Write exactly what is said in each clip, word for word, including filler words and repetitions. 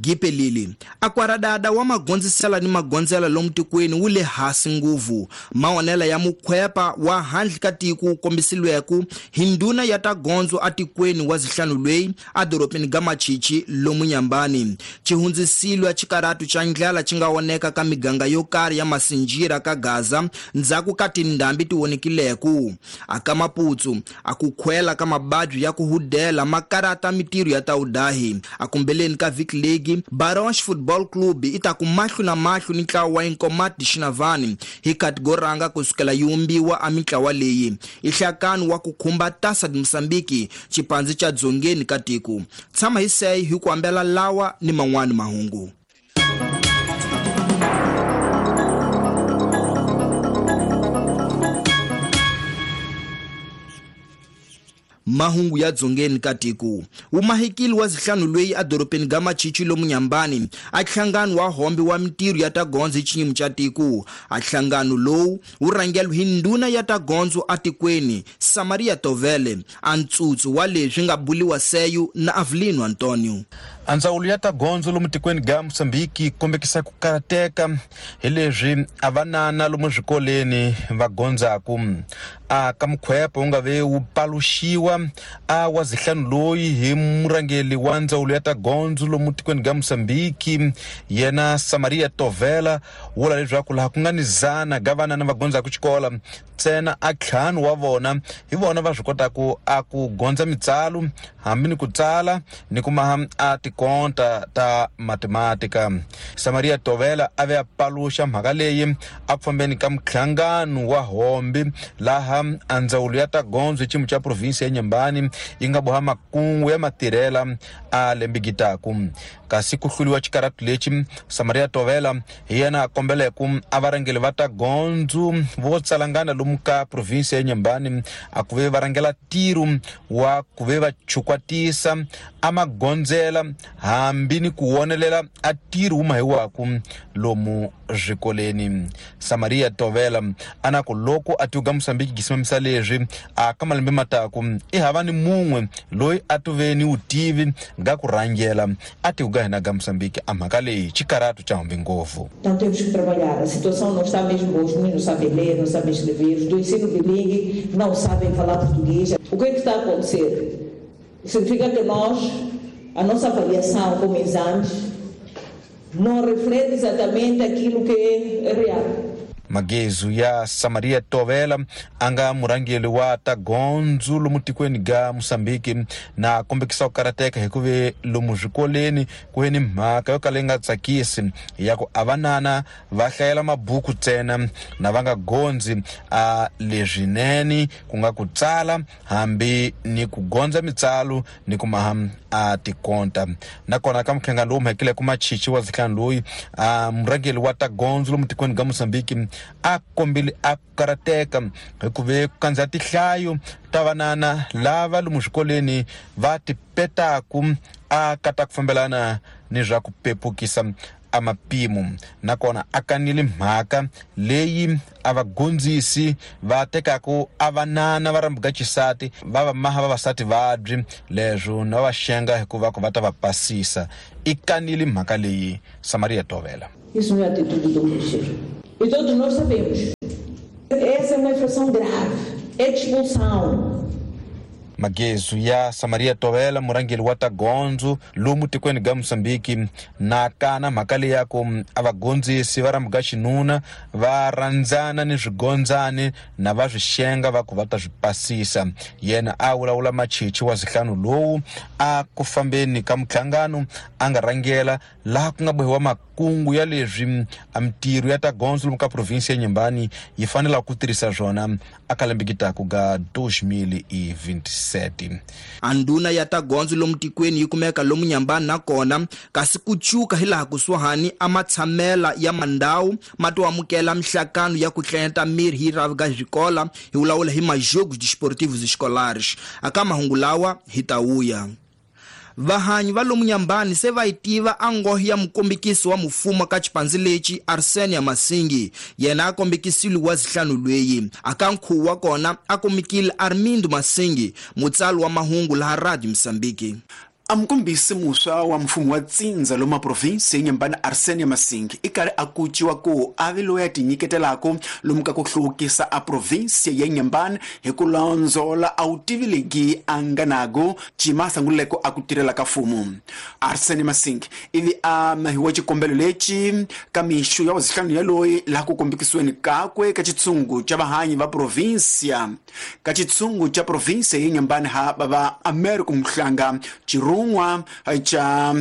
Gipelili akwaradada wa magondzisela ni magondzela lomu tikweni wu le hasi nguvu maonela ya mukhwepa wa handle ka tiko kombisiweke hi ndhuna ya ta gondzo atikweni wa zihlanu lweyi adorobeni ga Machichi lomu Nyambani. Chihundzisilwa chikaratu cha ndlala chi nga oneka ka miganga yo karhi ya Masinjira ka Gaza ndzhaku ka tindhambi ti wonekileku. Aka Maputsu akukhwela ka mabadyu ya ku hudela makarata mitirho ya tawudahi. Akumbeleni ka vhiki legi Baronch Football Club ita ku mahlo na mahlo ni ntlawa wa Inkomati Xinavani hi katigoranga kusukela yi wumbiwa a mintlawa leyi i nhlakano wa ku khumba Taça de Moçambique xipandzi cha dzongeni ka tiko. Tshama hi seyi hi ku ambela lawa ni man'wani mahungu. Mahungu ya dzongeni ka tiko. Umahikili wa zihlanu lweyi adorobeni ga Machichi lomu Nyambani a nhlangano wa hombe wa mitirho ya ta gondzo hi xiyimo xa tiko. A nhlangano lowu wu rhangeriwe hi ndhuna ya ta gondzo atikweni Samaria Tovele a ntsutsu wa leswi nga buliwa seyu na Avelino Antonio. A ndzawulo ya ta gondzo lomu tikweni ga Mozambique yi kombekisa ku karateka hi leswi a vanana lomu swikoleni va gondzaku. A ka mukhwepa wu nga ve wu paluxiwa a wa zihlanu loyi hi murhangeri wa ndzawulo ya ta gondzo lomu tikweni ga Mozambique yena Samaria Tovela vula leswaku laha ku nga ni zana ga vanana va gondzaku xikola ntsena a ntlhanu wa vona hi vona va swi kotaku a ku gondza mitsalo hambi ni ku tsala ni ku maha a tikonta ta matematika. Samaria Tovela a ve a paluxa mhaka leyi a ku fambeni ka mhlangano wa hombe laha a ndzawulo ya ta gondzo hi xiyimo xa provinsi ya Nyambani yi nga boha makungu ya matirhela a lembigitaku. Kasi ku hluliwa xikaratu lexi Samaria Tovela hi yena a kombeleku a varhangeri va ta gondzo vo tsalangana lomu ka provinsi ya Nyambani a ku ve va rhangela ntirho wa ku ve va chukwatisa a magondzela hambi ni ku wonelela a ntirho wu mahiwaku lomu swikoleni. Samaria Tovela a na ku loko a tiuga Mozambique gisimamisa leswi a ka malembe mataku i hava ni mun'we loyi a tuve ni vutivi nga ku rhangela a tiuga hina ga Mozambique a mhaka leyi xikaratu xa humbi ngopfu. Então temos que trabalhar. A situação não está mesmo boa. Os meninos não sabem ler, não sabem escrever, os do ensino bilingue não sabem falar português. O que é que está a acontecer? Significa que nós, a nossa avaliação como exames, não reflete exatamente aquilo que é real. Magezu ya Samaria Tovela a nga murhangeri wa ta gondzo lomu tikweni ga Mozambique na kombekisa ku karateka hi ku ve lomu swikoleni ku ve ni mhaka yo kala yi nga tsakisi ya ku a vanana va hlayela mabuku ntsena na va nga gondzi a leswinene ku nga ku tsala hambi ni ku gondza mitsalo ni ku maha a tikonta. Nakona ka mukhenga lowu mhekile ku Machichi wa zihlanu loyi a murhangeri wa ta gondzo lomu tikweni ga Mozambique a kombile a karateka hi ku ve ku kandza tihlayo ta vanana lava lomu swikoleni va ti petaku a kata ku fambelana ni swa ku pepukisa a mapimo. Nakona a kanile mhaka leyi a vagondzisi va tekaku a vanana va rambuka xisati va va maha vavasati vabyi leswo na va xenga hikuva ku va ta va pasisa. I kanile mhaka leyi Samaria Tovela. Isso não é atitude do professor. E todos nós sabemos. Essa é uma infração grave. É de expulsão. Magezu ya Samaria Tovela murhangeri wa ta gondzo lomu tikweni ga Mozambique na kana mhaka leyi ya ku a vagondzisi va rambuka xinuna va rhandzana ni swigondzani na va swi xenga va ku va ta swi pasisa. Yena a vulavula Machichi wa zihlanu lowu a ku fambeni ka mhlangano a nga rhangela laha ku nga bohiwa makungu ya leswi a mitirho ya ta gondzo lomu ka provinsi ya Nyambani yi fanelaka ku tirhisa swona a ka lembe gitaku ga dois mil e vinte e sete. A ndhuna ya ta gondzo lomu tikweni yi kumeka lomu Nyambani nakona kasi ku cuka hi laha kusuhani a matshamela ya mandhawu ma to amukela mihlakano ya ku tlanyeta miri hi rhavi ga xikola hi vulavula hi majogos desportivos escolares. Aka mahungu lawa hi ta wuya. Vahanyi va lomu Nyambani se va yi tiva a nghohe ya mukombekisi wa mufumo ka xipandzi lexi Arsenia Masingi. Yena a kombekisile wa zihlanu lweyi. Aka nkhuvo wa kona a kumekile Armindo Masingi, mutsali wa mahungu laha Radio Mozambique. Amkombisi muswa wa mfumo wa Tsinza loma province Nyembani Arsene Masingi ikari akuchiwa ku avi loyi a tinyiketelaka lomu ka ku hluvukisa a province ya Nyembani hi ku lonzola a wutivi legi a nga nago cima sanguleko a ku tirhela ka mfumo. Arsene Masingi ivi a mahiwa xikombelo lexi ka mixo ya wazihlanu ya loyi laha ku kombekisiweni kakwe ka xitshungu xa vahanyi va provinsia ka xitshungu xa province ya Nyembani ha bava America Mhlanga Chiru Rungwa cha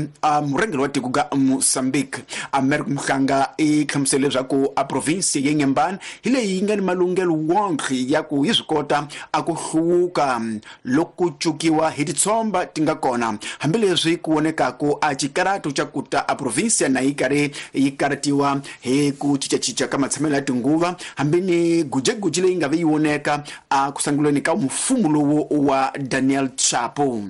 murhangeri wa tiko ga Mozambique. America Mhlanga i hlamusele leswaku a province ya Nyembani hi leyi yi nga ni malunghelo wonke ya ku yi swi kota a ku hluvuka loko ku cukiwa hi titshomba ti nga kona, hambileswi ku vonekaku a xikaratu xa ku ta a province na yi karhi yi karatiwa hi ku cincacinca ka matshamelo ya tinguva, hambi ni gujeguji leyi nga ve yi voneka a ku sunguleni ka mfumo lowu wa Daniel Chapo.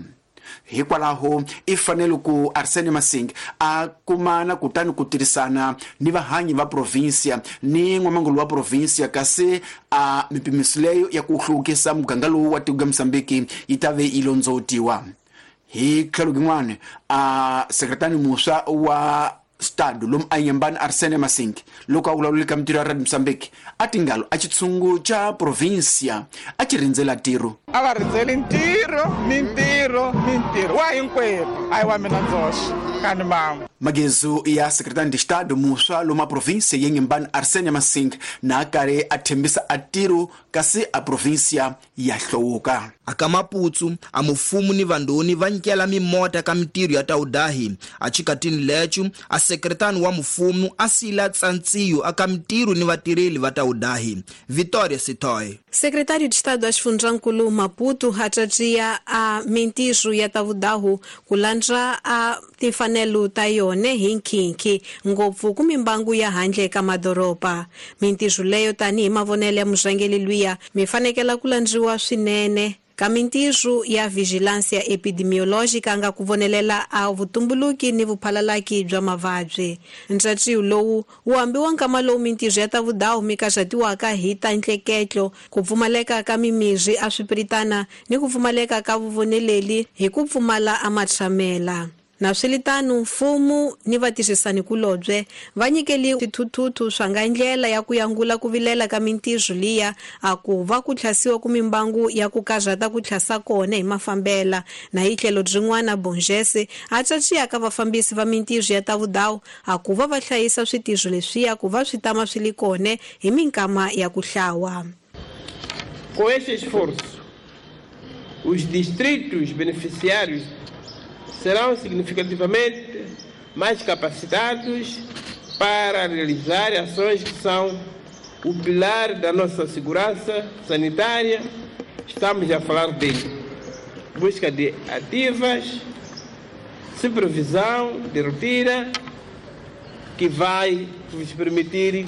Hikwalaho i fanele ku Arsene Masingi a kumana kutani ku tirhisana ni vahanyi va provinsia ni n'wamangulu wa provinsia, kasi a mipimiso leyo ya ku hluvukisa muganga lowu wa tiko ga Mozambique yi ta ve yi londzotiwa. Hi tlhelo rin'wana a sekretari muswa wa stado lomu a Nyembani Arsene Masingi loko a vulavula ka mitirho ya Radio Mozambique a tingalo a xitshungu xa provinsia a xi rindzela ntirho. A va rindzeli ntirho ni ntirho ni ntirho wa hinkwerhu, a hi wa mina ndzoxe kani mama. Magezu ya sekretari de estado muswa lomu a provinsia ya Nyembani Arsene Masingi na karhi a thembisa a ntirho kasi a provinsia ya hluvuka. Aka Maputsu a mufumu ni vandoni va nyikela mimota ka mitirho ya taudahi. A chikatini lechu a sekretani wa mufumu a sila tsantsiyo aka mitirho ni vatirheli va taudahi. Vitória Sitoy. Secretário de Estado Asfunjankulu Maputo atratia a mintirho ya tavudahu ku landza a timfanelo ta yona hi nkhinkhi ngopfu ku mimbangu ya handle ka madoroba. Mintirho leyo tanihi mavonelo ya murhangeri luya mi fanekela ku landziwa swinene ka mintirho ya vigilância epidemiológica nga ku vonelela a vutumbuluki ni vuphalalaki bya mavabyi. Ntshatsiyo lowu wu ambiwa nkama lowu mintirho ya ta vudawu mi kaxatiwaka hi ta ntleketlo, ku pfumaleka ka mimirhi a swipiritana ni ku pfumaleka ka vuvoneleli hi ku pfumala a matshamela. Na swilitano mfumo ni vatirhisani kulobye va nyikeli swithuthuthu swa nga ndlela ya ku yangula ku vilela ka mintirho liya a ku va ku tlhasiwa ku mimbangu ya ku karhata ku tlhasa kona hi mafambela. Na hi tlhelo byin'wana Bongese a tsatsiya ka vafambisi va mintirho ya ta vudawu a ku va va hlayisa switirho leswiya ku va swi tama swi li kona hi minkama ya ku hlawa. Com este esforço, os distritos beneficiários serão significativamente mais capacitados para realizar ações que são o pilar da nossa segurança sanitária. Estamos a falar de busca de ativas, supervisão de rotina, que vai nos permitir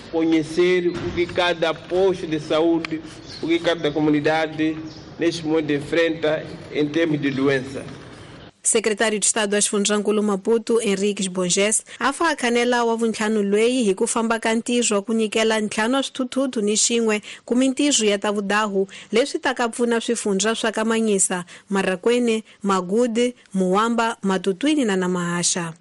conhecer o que cada posto de saúde, o que cada comunidade neste momento enfrenta em termos de doença. Secretário de Estado Asfunjankulu Maputo Henriques Bonges a fa khanela wa vuntlhanu lweyi hi ku famba ka ntirho wa ku nyikela ntlhanu wa swithuthuthu ni xin'we ku mintirho ya ta vudahu leswi ta ka pfuna swifundza swa ka Manyisa, Marakwene, Magude, Muwamba, Matutwini na Namahasha.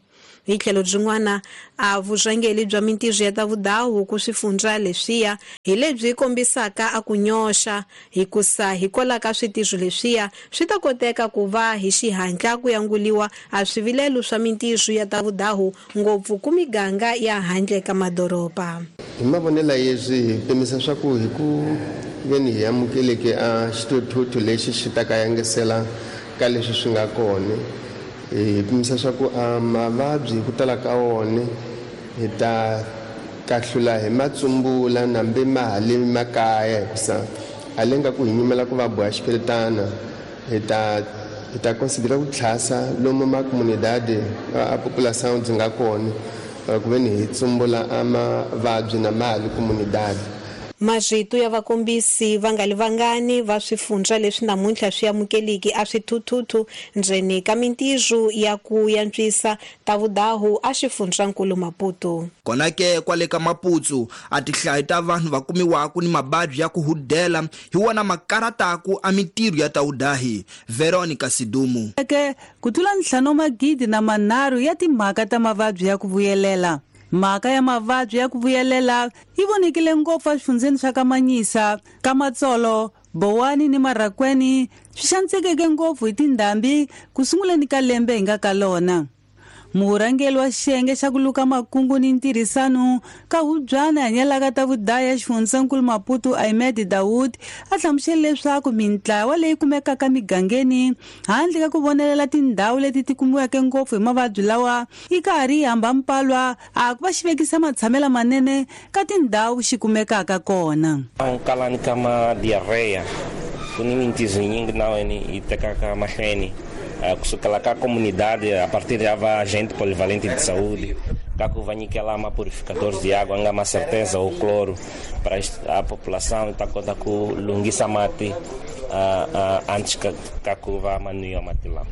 Hi tlhelo byin'wana a vurhangeri bya mintirho ya ta vudahu ku swifundza leswiya hi lebyi kombisaka a ku nyoxa hikusa hikwalaho ka switirho leswiya swi ta koteka ku va hi xihatla ku yanguliwa a swivilelo swa mintirho ya ta vudahu ngopfu ku miganga ya handle ka madoroba. Hi mavonelo yeswi hi pimisa swa ku hi ku veni hi amukeleke a xithuthuthu lexi xi ta ka yangisela ka leswi swi nga kona. Hi pimisa swa ku a mavabyi hi ku tala ka wona hi ta kahlula hi matsumbula nambe ma ha le makaya hikusa a le nga ku hi nyimela ku va boha xipiritana hi ta hi ta considera ku tlhasa lomu ma comunidade a população byi nga kona ku ve ni hi tsumbula a mavabyi na mali comunidade. Marito ya vakombisi va nga li vangani va swifundza leswi namuntlha swi amukeliki a swithuthuthu ndzeni ka mintirho ya ku yantswisa ta vudahu a xifundzankulu Maputo. Kona ke kwale ka Maputo a tihlayo ta vanhu va kumiwaku ni mababyi ya ku hudela hi wona makarataku a mintirho ya tawudahi. Veronica Sidumu. Ke ku tlula ntlhanu magidi na manharhu ya timhaka ta mavabyi ya ku vuyelela. Mhaka ya mavabyi ya ku vuyelela yi vonekile ngopfu exifundzeni swa Kamanyisa, Kamatsolo, Bowani ni Marakweni swi xanisekeke ngopfu hi tindhambi ku sunguleni ka lembe hi nga ka lona. Murhangeri wa xiyenge xa ku luka makungu ni ntirhisano ka hubyana hanyelaka ta vudaya xifundzankulu Maputo Ahmed Dawood a hlamusele leswaku mintlawa leyi kumekaka migangeni handle ka ku vonelela tindhawu leti ti kumiweke ngopfu hi mavabyi lawa yi karhi yi hamba mpalwa a ku va xi vekisa matshamelo manene ka tindhawu xi kumekaka kona. Kalani ka ma diarreia ku ni mintizo nyingi naweni yi tekaka mahlweni kusukela ka comunidade a partir de ava agente polivalente de saúde ka ku va nyikela ma purificadores de água nga ma certeza o cloro para a população ta kota ku lunghisa mati uh, uh, antes ka, ka ku va manuya mati lawa.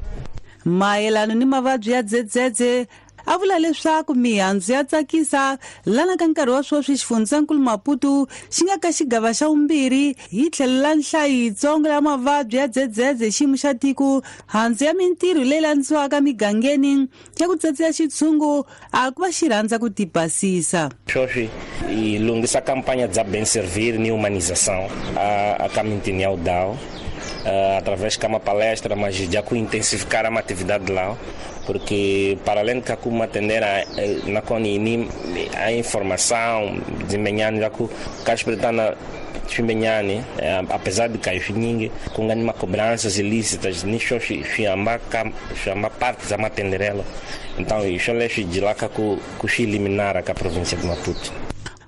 Mayelano ni mavabyi ya dzedzedze a vula leswaku mihandzu ya tsakisa lana ka nkarhi wa sweswi xifundzankulu Maputo xi nga ka xigava xa vumbirhi hi tlhelo la nhlayo yitsongo ya mavabyi ya dzedzedze xiyimo xa tiko handzu ya mintirho leyi landziwaka migangeni ya ku tsatsiya xitshungu a ku va xi rhandza ku tibasisa. Sweswi hi lunghisa kampanya bya bem servir ni humanização a, a ka mintini ya udao Uh, através de uma palestra, mas já com intensificar a atividade lá, porque para além de como atender a, na conini a informação desempenhando já com caspertana desempenhando, apesar de cair ninguém com ganho cobranças ilícitas, nisso chama chama parte da matenderela. Então isso é de lá que com eliminar a província de Maputo.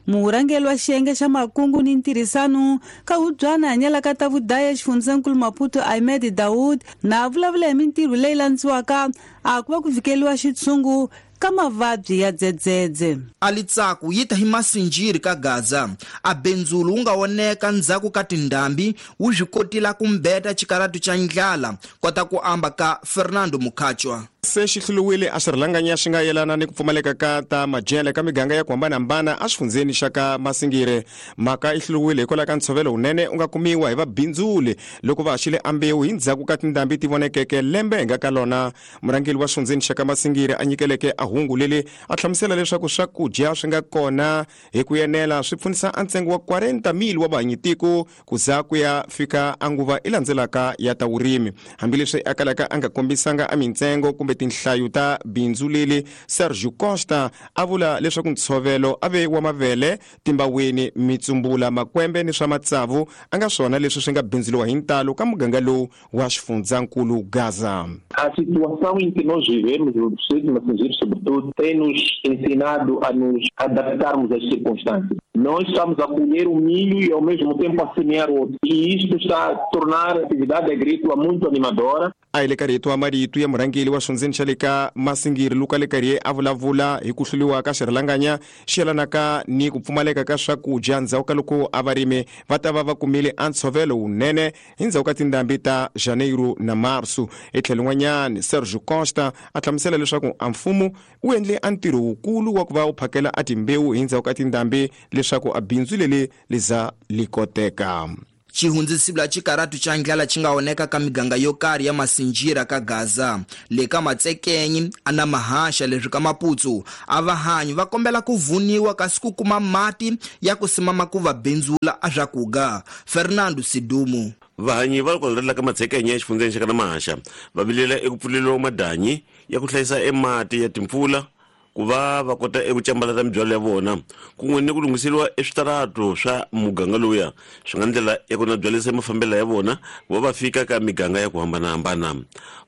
Murhangeri wa xiyenge xa makungu ni ntirhisano ka hubyana hanyelaka ta vudaya xifundzankulu Maputo Ahmed Dawood na vulavula hi mintirho leyi landziwaka a ku va ku vikeliwa xitshungu ka mavabyi ya dzedzedze. Alitsaku yi ta hi masinjiri ka Gaza a benzulu wu nga oneka ndzhaku ka tindhambi wu swi kotila ku mbeta xikaratu xa ndlala kota ku amba ka Fernando Mukhachwa. Se xi hluriwile a xirhalanganya xi nga yelana ni ku pfumaleka ka ta madyele ka miganga ya ku hambanahambana exifundzeni xa ka Masingire. Mhaka yi hluriwile hikwalaho ka ntshovelo wunene u nga kumiwa hi vabindzuli loko va haxile ambewu hi ndzhaku ka tindhambi ti vonekeke lembe hi nga ka lona. Murhangeri wa xifundzeni xa ka Masingire a nyikeleke a hungu leli a hlamusela leswaku swakudya swi nga kona hi ku yenela swi pfunisa a ntsengo wa quarenta mil wa vahanyitiko ku za ku ya fika a nguva i landzelaka ya ta vurimi. Hambileswi a kalaka a nga kombisanga a mintsengo kumbe tinhlayo ta bindzu leli, Sergio Costa a vula leswaku ntshovelo a ve wa mavele, timbaweni, mitsumbula, makwembe ni swa matsavu a nga swona leswi swi nga bindzuriwa hi ntalo ka muganga lowu wa xifundzankulu Gaza. A situação em que nós vivemos, no distrito de Massingir, sobretudo, tem nos ensinado a nos adaptarmos às circunstâncias. Nós estamos a colher o milho e ao mesmo tempo a semear outro. E isto está a tornar a atividade agrícola muito animadora. A hi le ka rito wa marito ya murhangeri wa xifundzeni xa le ka Masingiri Luka Lekarie a vulavula hi ku hluriwa ka xirhalanganya xi yelanaka ni ku pfumaleka ka swakudya ndzhaku ka loko a varimi va ta va va kumile a ntshovelo wunene hi ndzhaku ka tindhambi ta Janeiro na Marso. Etlhelo n'wanyana Sergio Costa a hlamusela leswaku a mfumo wu endle a ntirho wukulu wa ku va wu phakela a timbewu hi ndzhaku ka tindhambi leswaku a bindzu leli liza li koteka. Xihundzisibla xikaratu xa ndlala xi nga oneka ka miganga yo karhi ya Masinjira ka Gaza le ka Matsekenyi ana mahaxa leswi ka Maputsu a vahanyi va kombela ku vuniwa kasi ku kuma mati ya ku simama ku va bindzula a swakuga. Fernando Sidumu. Vahanyi va kwala ka Matsekenyi exifundzeni xa ka Mahaxa va vilela eku pfuleliwa madanyi ya ku hlayisa emati ya timpfula ku va va kota eku cambalata mibyalo ya vona kun'we ni ku lunghiseriwa eswitaratu swa muganga lowuya swi nga ndlela ya ku na byalisa mafambelo ya vona ku va va fika ka miganga ya ku hambanahambana.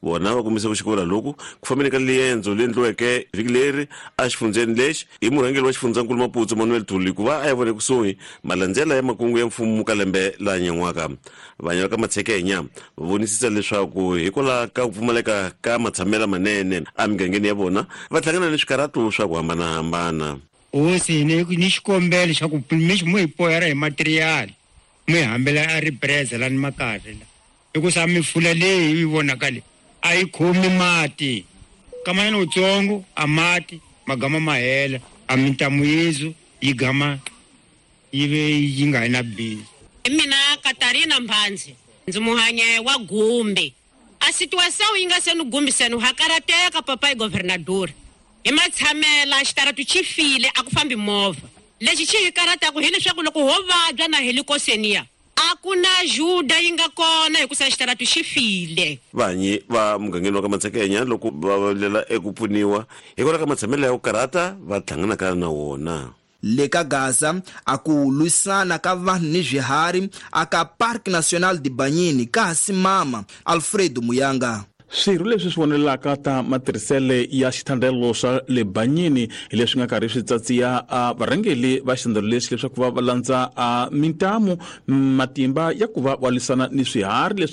Vona va kombise ku xikolo loku ku fambeni ka liendzo leyi endliweke vhiki leri exifundzeni lexi hi murhangeri wa xifundzankulu Maputo Manuel Thuli ku va a ya vona ekusuhi malandzela ya makungu ya mfumo ka lembe la nyan'waka. Vanhu va ka Matshekenya va vonisisa leswaku hikwalaho ka ku pfumaleka ka matshamelo manene emigangeni ya vona va hlangana ni swikaratu swa ku hambanahambana. Hosi ni ni xikombelo xa ku mi hi poyera hi material mi hambela a ripresa lani makahle la hikusa mifula leyi yi vonaka le a yi khomi mati kamanyana wutsongo a mati magama ma hela a mintamu yezu yi gama yi ve yi nga na bindzu. Mina Katarina Mbhanzi ndzi muhanye wa Gumbi. A situação yi nga se ni gumbiseni ha karateka papai governador hi matshamela xitaratu xi file a ku fambi movha. Lexi xi hi karataku hileswaku loko ho vabya na helikoseniya a ku na juda yi nga kona hikusa xitaratu xi file. Vanyi va mugangeni wa ka Matshekenya loko va vilela eku pfuniwa hikwalaho ka matshamelo ya ku karata va hlanganaka na wona. Le ka Gaza a ku lwisana ka vanhu ni swiharhi aka Parc National de Banyini ka ha simama. Alfredo Muyanga. Swirho leswi swi vonelaka ta matirhisele ya xithandelo xa le Banyini hi leswi nga karhi swi tsatsiya a varhangeli va xithandelo lexi leswaku va va landza a mintamu matimba ya ku va va lwisana ni swiharhi leswi